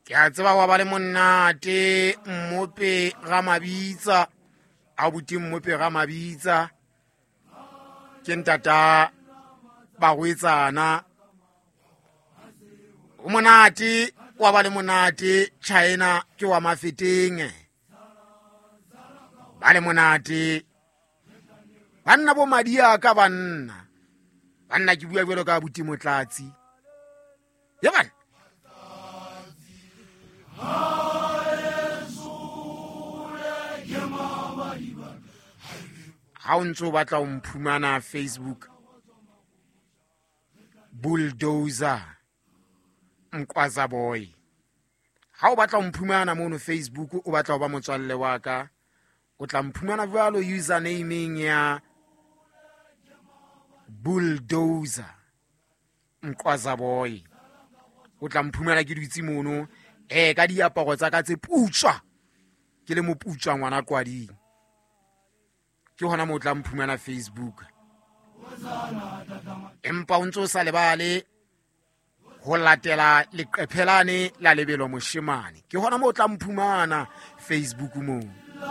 Ke a tseba wa ba le monate Mmope ga Mabitsa, abuti Mmope ga Mabitsa ke ntata bagwetsana. O monate wa ba le monate China ke wa Mafeteng, ba le monate banna bo madi a ka banna banna ke bua jalo ka abuti Motlatsi ye bana. Ha o ntse o batla o mphumana Facebook, Bulldozer Mqwaza Boy. Ha o batla o mphumana mono Facebook, o batla ho ba motswalle wa ka, o tla mphumana jwalo usernameng ya Bulldozer Mqwaza Boy. O tla mphumana ke dutse mono ka diaparo tsa ka tse putswa, ke le moputswa ngwana kwading. Ke hona moo o tla mphumana Facebook. Empa o ntse o sa lebale ho latela leqephe lane la Lebelo Moshemane, ke hona moo o tla mphumana Facebook moo.